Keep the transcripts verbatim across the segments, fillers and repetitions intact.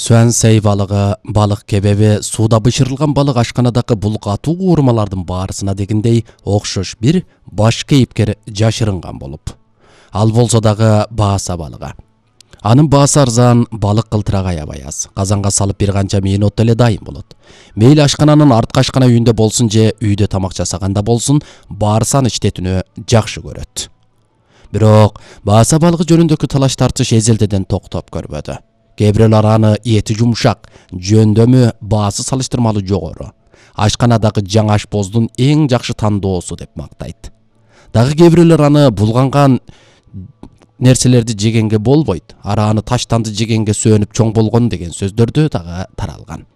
Суансей балыгы, балык кебеби, сууда бышырылган балык ашканадагы бул катуу куурмалардын баарысына дегендей окшош бир баш кейипкер жашырынган болуп. Ал болсо дагы бааса балыгы. Анын баасы арзан, балык кылтырак аябай аз. Казанга салып бир канча минутта эле дайын болот. Мейли ашкананын арткы ашкана үйүндө болсун же үйдө тамак жасаганда болсун, баарысы аны иштетүүнү жакшы көрөт. Бирок бааса балыгы жөнүндөгү талаш тартыш эзелдеден токтоп көрбөдү. Кээ бирөөлөр аны эти жумшак, жөндөмү баасы салыштырмалуу жогору. Ашканадагы жаңы ашпоздун эң жакшы тандоосу деп мактайт. Дагы кээ бирөөлөр аны булганган нерселерди жегенге болбойт, арааны таштанды жегенге сөөнүп чоң болгон деген сөздөрдү дагы таралган.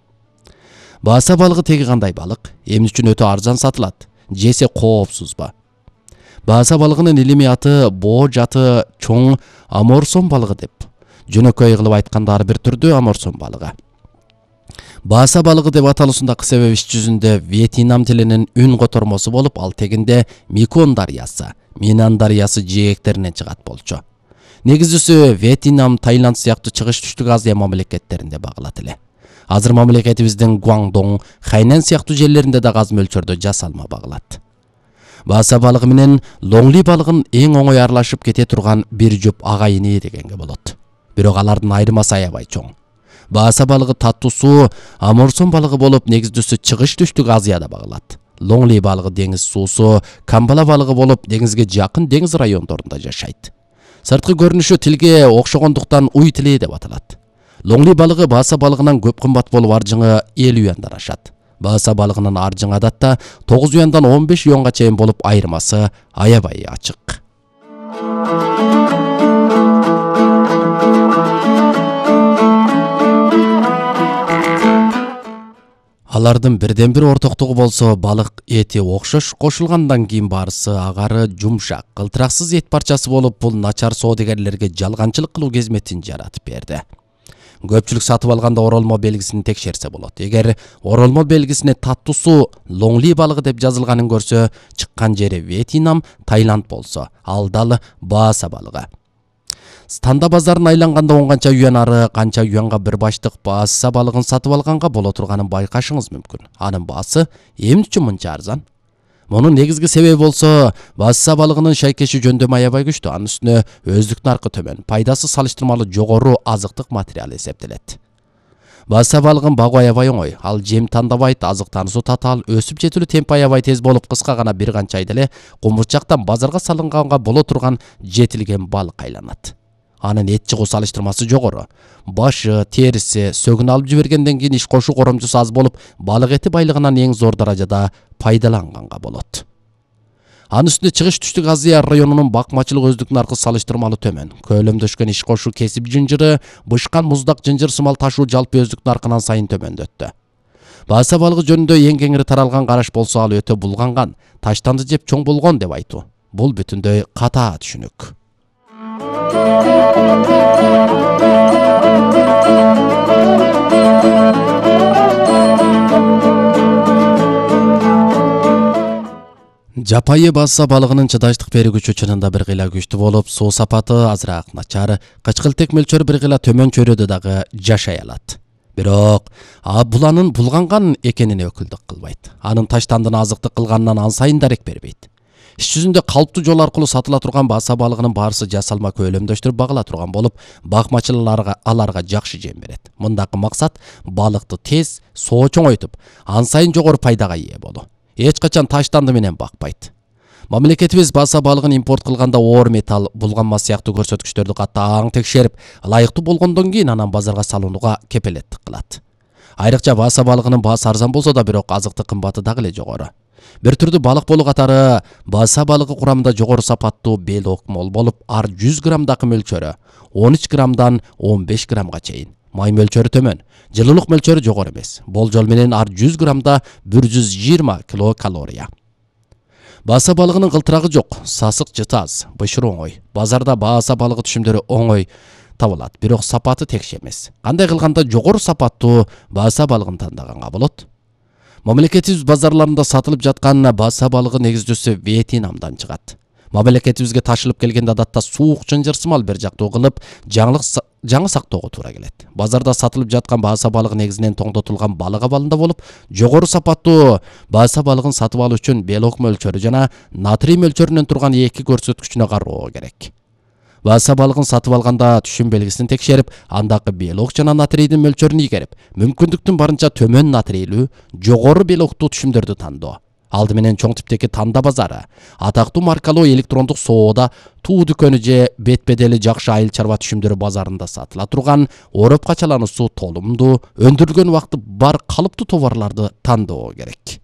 Бааса балыгы теги кандай балык? Эмне үчүн өтө арзан сатылат? Жесе коопсузбу? Бааса балыгынын илимий аты боо жаты чоң аморсон балыгы деп. Жөнөкөй кылып айтканда ар бир түрдүү аморсон балыгы. Бааса балыгы деп аталуусундагы себеп иш жүзүндө Вьетнам тилинин үн котормосу болуп, ал тегинде Меконг дарыясы, Минан дарыясы жээктеринен чыгат болчу. Негизүүсү Вьетнам, Таиланд сыяктуу чыгыш түштүк Азия мамлекеттеринде багылат эле. Азыр мамлекетибиздин Гуандong, Хайнан сыяктуу жерлеринде да аз мөлчөрдө жасалма багылат. Бааса балыгы менен лоңли балыгын эң оңой аралашып кете турган бир жуп агайыны дегенге болот. Бирок алардын айырмасы аябай чоң. Бааса балыгы таттуусу аморсон балыгы болуп, негиздүүсү чыгыш түштүк Азияда багылат. Лоңли балыгы деңиз суусу, камбала балыгы болуп, деңизге жакын деңиз райондорунда жашайт. Сырткы көрүнүшү тилге окшогондуктан уй тили деп аталат. Лоңли балыгы бааса балыгынан көп кымбат болуп, аржыңы элүү юандан ашат. Бааса балыгынын аржыңы адатта тогуз юандан он беш юанга чейин болуп, айырмасы аябай ачык. Алардын бирден бир ортоктугу болсо, балык эти окшош, кошулгандан кийин баарысы агары жумшак, кылтыраксыз эт парчасы болуп, бул начар соодагерлерге жалганчылык кылуу кезметин жаратып берди. Көпчүлүк сатып алганда оролмо белгисин текшерсе болот. Эгер оролмо белгисине таттуусу лоңли балыгы деп жазылганын көрсө, чыккан жери Вьетнам, Таиланд болсо, ал дал бааса балыгы. Станда базарын айланганда он канча юан ары канча юанга бир баштык бааса балыгын сатып алганга боло турганын байкашыңыз мүмкүн. Анын баасы эмне үчүн мынча арзан? Мунун негизги себеби болсо, бааса балыгынын шайкеши жөндөмү аябай күчтүү, анын үстүнө өздүк наркы төмөн, пайдасы салыштырмалуу жогору азыктык материал эсептелет. Бааса балыгын багуу аябай оңой. Ал жем тандабайт, азык танысу татаал, өсүп жетилүү темпи аябай тез болуп, кыска гана бир канча айда эле кумурчактан базарга салынганга боло турган жетилген балык айланат. Анын эт чыгуу салыштырмасы жогору. Башы, териси, сөгүн алып жибергенден кийин иш кошу коромчусу аз болуп, балык эти байлыгынан эң зор даражада пайдаланганга болот. Анын үстүнө чыгыш түштүк Азия районунун бакмачылык өздүк наркы салыштырмалуу төмөн. Көлөмдөшкөн иш кошу кесип жынжыры, бышкан муздак жынжыр сымал ташуу жалпы өздүк наркынан сайын төмөндөттү. Бааса балыгы жөнүндө эң кеңири таралган караш болсо, ал өтө булганган, таштанды жеп чоң болгон деп айтуу. Бул бүтүндөй катаа түшүнүк. Жапайы бааса балыгынын чыдаштык берүү күчү чынында бир кыйла күчтүү болуп, суу сапаты азыраак начар, кычкылтек мөлчөрү бир кыйла төмөн чөйрөдө дагы жашай алат. Бирок бул анын булганган экенине өкүлдүк кылбайт. Анын таштандыны азыктык кылганынан ан сайын дарек бербейт. Иш жүзүндө калптуу жол аркылуу сатыла турган бааса балыгынын баарысы жасалма көлөмдөштүрүп багыла турган болуп, бакмачыларга аларга жакшы жем берет. Мындагы максат балыкты тез, соо чоңойтуп, ан сайын жогору пайдага ээ болуу. Эч качан таштанды менен бакпайт. Мамлекетибиз бааса балыгын импорт кылганда оор металл, булганма сыяктуу көрсөткүчтөрдү катаң текшерип, ылайыктуу болгондон кийин анан базарга салууга кепелеттик кылат. Айрыкча бааса балыгынын баасы арзан болсо да, бирок азыктык кымбаты дагы эле жогору. Бир түрдүү балык болуу катары бааса балыгы курамында жогору сапаттуу белок мол болуп, ар жүз граммдагы мөлчөрү он үч граммдан он беш граммга чейин. Май мөлчөрү төмөн, жылуулук мөлчөрү жогору эмес. Болжол менен ар жүз граммда бир жүз жыйырма килокалория. Бааса балыгынын кылтырагы жок, сасык жыты аз, бышыруу оңой. Базарда бааса балыгы түшүмдөрү оңой табылат, бирок сапаты текше эмес. Кандай кылганда жогору сапаттуу бааса балыгын тандаганга болот? Мамлекетибиз базарларында сатылып жаткан бааса балыгы негиздүүсү Вьетнамдан чыгат. Мамлекетибизге ташылып келгенде адатта суук жынжырсымал бир жактуу кылып жаңылык жаңы сактоого туура келет. Базарда сатылып жаткан бааса балыгы негизинен тоңдотулган балык абалында болуп, жогору сапаттуу бааса балыгын сатып алуу үчүн белок мөлчөрү жана натрий мөлчөрүнөн турган эки көрсөткүчүнө кароо керек. Бааса балыгын сатып алганда түшүм белгисин текшерип, андагы белок жана натрийдин мөлчөрүн игерип, мүмкүндүктүн барынча төмөн натрийлүү, жогору белоктуу түшүмдөрдү тандоо. Алды менен чоң типтеги Танда базары, атактуу маркалуу электрондук соода, туу дүкөнү же бет-бедели жакшы айыл чарба түшүмдөрү базарында сатыла турган, ороп качалануусу толумдуу, өндүрүлгөн убакыты бар калыптуу товарларды тандоо керек.